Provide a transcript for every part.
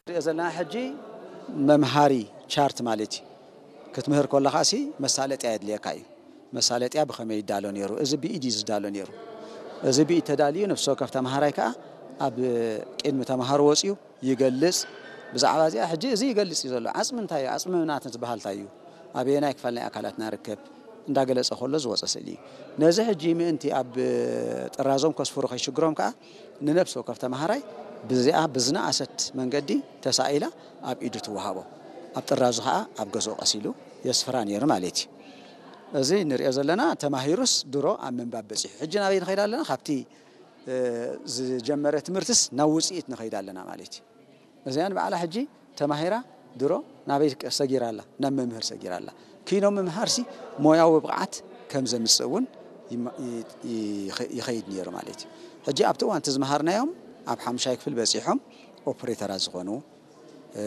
ንሪኦ ዘለና ሕጂ መምሃሪ ቻርት ማለት እዩ። ክትምህር ከለኻ ሲ መሳለጥያ የድልየካ እዩ። መሳለጥያ ብኸመይ ይዳሎ ነይሩ? እዚ ብኢድ እዩ ዝዳሎ ነይሩ። እዚ ብኢድ ተዳልዩ፣ ነፍሲ ወከፍ ተምሃራይ ከኣ ኣብ ቅድሚ ተምሃሮ ወፂኡ ይገልጽ። ብዛዕባ እዚኣ ሕጂ እዚ ይገልጽ እዩ ዘሎ። ዓጽሚ እንታይ እዩ? ዓጽሚ ምናት ዝበሃል እንታይ እዩ? ኣበየናይ ክፋል ናይ ኣካላትና ርከብ? እንዳገለጸ ከሎ ዝወጸ ስእሊ እዩ። ነዚ ሕጂ ምእንቲ ኣብ ጥራዞም ከስፍሩ ከይሽግሮም ከኣ ንነፍሲ ወከፍ ተምሃራይ ብዚኣ ብዝነኣሰት መንገዲ ተሳኢላ ኣብ ኢዱ ትወሃቦ። ኣብ ጥራዙ ከኣ ኣብ ገዝኡ ቀሲሉ የስፍራ ነይሩ ማለት እዩ። እዚ ንሪኦ ዘለና ተማሂሩስ ድሮ ኣብ ምንባብ በጺሑ። ሕጂ ናበይ ንኸይድ ኣለና? ካብቲ እ፣ ዝጀመረ ትምህርትስ ናብ ውጽኢት ንኸይድ ኣለና ማለት እዩ። እዚኣን በዓላ ሕጂ ተማሂራ ድሮ ናበይ ሰጊራ ኣላ? ናብ መምህር ሰጊራ ኣላ። ኪኖ ምምሃርሲ ሞያዊ ብቕዓት ከም ዘምጽእ እውን ይማ-፣ ይ-፣ ይኸ-፣ ይኸይድ ነይሩ ማለት እዩ። ሕጂ ኣብቲ እዋን እቲ ዝመሃርናዮም ኣብ ሓሙሻይ ክፍል በጺሖም ኦፕሬተራት ዝኾኑ፣ እ፣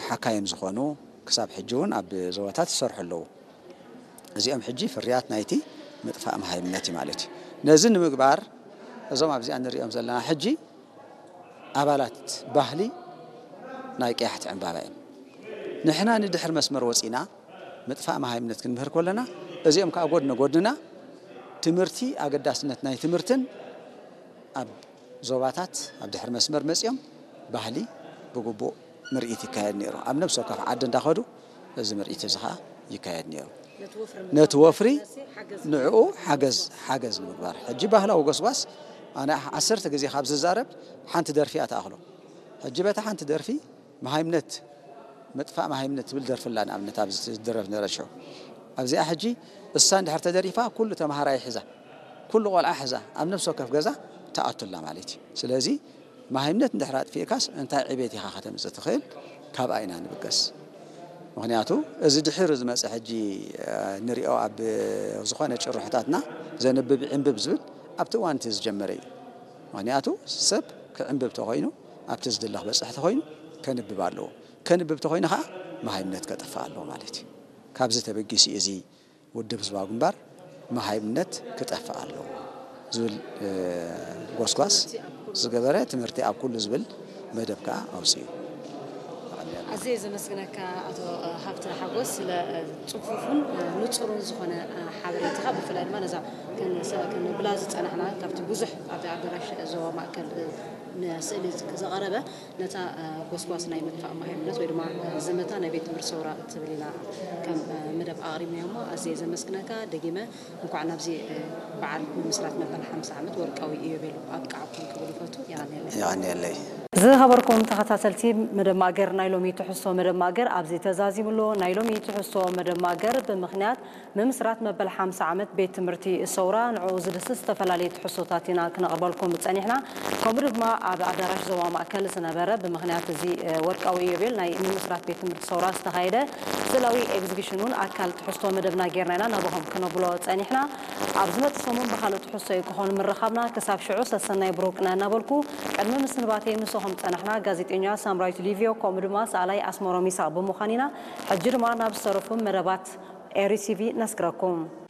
ሓካይም ዝኾኑ ክሳብ ሕጂ እውን ኣብ ዞባታት ይሰርሑ ኣለዉ። እዚኦም ሕጂ ፍርያት ናይቲ ምጥፋእ መሃይምነት እዩ ማለት እዩ። ነዚ ንምግባር እዞም ኣብዚኣ ንሪኦም ዘለና ሕጂ ኣባላት ባህሊ ናይ ቀያሕቲ ዕምባባ እዮም። ንሕና ንድሕር መስመር ወፂና ምጥፋእ መሃይምነት ክንምህር ከለና እዚኦም ከዓ ጎድነ ጎድንና ትምህርቲ፣ ኣገዳስነት ናይ ትምህርትን ኣብ ዞባታት ኣብ ድሕሪ መስመር መፂኦም ባህሊ ብግቡእ ምርኢት ይካየድ ነይሩ። ኣብ ነብሲ ወከፍ ዓዲ እንዳኸዱ እዚ ምርኢት እዚ ኸዓ ይካየድ ነይሩ። ነቲ ወፍሪ ነቲ ወፍሪ ንምምሕያሽ ሓገዝ ንዕኡ ሓገዝ፣ ሓገዝ ንምግባር። ሕጂ ባህላዊ ጎስጓስ ኣነ ዓሰርተ ግዜ ካብ ዝዛረብ ሓንቲ ደርፊ እያ ትኣኽሎ። ሕጂ በታ ሓንቲ ደርፊ መሃይምነት፣ ምጥፋእ መሃይምነት ትብል ደርፊ ኣላ፣ ንኣብነት ኣብዚ ዝደረፍ ነበረ ሽዑ። ኣብዚኣ ሕጂ እሳ እንድሕር ተደሪፋ ኩሉ ተምሃራይ ሒዛ፣ ኩሉ ቆልዓ ሒዛ ኣብ ነብሲ ወከፍ ገዛ ትኣቱ ኣላ ማለት እዩ። ስለዚ መሃይምነት እንድሕር ኣጥፊእካስ እንታይ ዕቤት ኢኻ ከተምጽእ ትኽእል? ካብኣ ኢና ንብገስ። ምኽንያቱ እዚ ድሒሩ ዝመጸ ሕጂ፣ እ፣ ንሪኦ ኣብ ዝኾነ ጭርሖታትና ዘንብብ ይዕንብብ ዝብል ኣብቲ እዋን እቲ ዝጀመረ እዩ። ምኽንያቱ ሰብ ክዕንብብ ተኾይኑ ኣብቲ ዝድለ ክበጽሕ ተኾይኑ ከንብብ ኣለዎ። ከንብብ ተኾይኑ ኸዓ መሃይምነት ከጥፍእ ኣለዎ ማለት እዩ። ካብዚ ተበጊሱ እዩ እዚ ውድብ ህዝባዊ ግንባር መሃይምነት ክጠፍእ ኣለዎ ዝብል፣ እ፣ ጎስጓስ ዝገበረ ትምህርቲ ኣብ ኩሉ ዝብል መደብ ከኣ ኣውጺኡ። ኣዝየ ዘመስግነካ ኣቶ ሃብተ ሓጎስ ስለ ጽፉፍን ንጹርን ዝኾነ ሓበሬታኻ፣ ብፍላይ ድማ ነዛ ከን-፣ ከነብላ ዝጸናሕና ካብቲ ብዙሕ ኣብቲ ኣዳራሽ ዞባ ማእከል ንስእሊ ዝቐረበ ነታ ጎስጓስ ናይ ምጥፋእ መሃይምነት ወይ ድማ ዘመታ ናይ ቤት ትምህርቲ ሰውራ ትብል ኢና ከም መደብ ኣቕሪብናዮ እሞ ኣዝየ ዘመስግነካ። ደጊመ እንኳዕ ናብዚ በዓል ምምስራት መበል ሓምሳ ዓመት ወርቃዊ ኢዮቤሉ ኣብቅዓኩም ክብል ይፈቱ። የቐንየለይ። የቐንየለይ። ዝኸበርኩም ተኸታተልቲ መደብ ማገር፣ ናይ ሎሚ ትሕዝቶ መደብ ማገር ኣብዚ ተዛዚሙ ኣሎ። ናይ ሎሚ ትሕዝቶ መደብ ማገር ብምኽንያት ምምስራት መበል ሓምሳ ዓመት ቤት ትምህርቲ ሰውራ ንዕኡ ዝድስስ ዝተፈላለዩ ትሕዝቶታት ኢና ክነቕርበልኩም ጸኒሕና። ከምኡ ድማ ኣብ ኣዳራሽ ዞባ ማእከል ዝነበረ ብምኽንያት እዚ፣ እ፣ ወርቃዊ ኢዮቤል ናይ ምምስራት ቤት ትምህርቲ ሰውራ ዝተኻየደ ስእላዊ ኤግዚቢሽን እውን ኣካል ትሕዝቶ መደብና ጌርና ኢና ናባኹም ክነብሎ ጸኒሕና። ኣብ ዝመጽእ ሰሙን ብኻልእ ትሕዝቶ እዩ ክኾን ምርኻብና። ክሳብ ሽዑ ሰሰናይ ብሩክ እናበልኩ ቅድሚ ምስንባተይ ምሳኹም ጸናሕና ጋዜጠኛ ሳምራዊት ሊቪዮ ከምኡ ድማ ሰኣላይ ኣስመሮም ይስሐቅ ብምዃን ኢና። ሕጂ ድማ ናብ ዝተረፉ መደባት ኤሪ ቲቪ ነስግረኩም።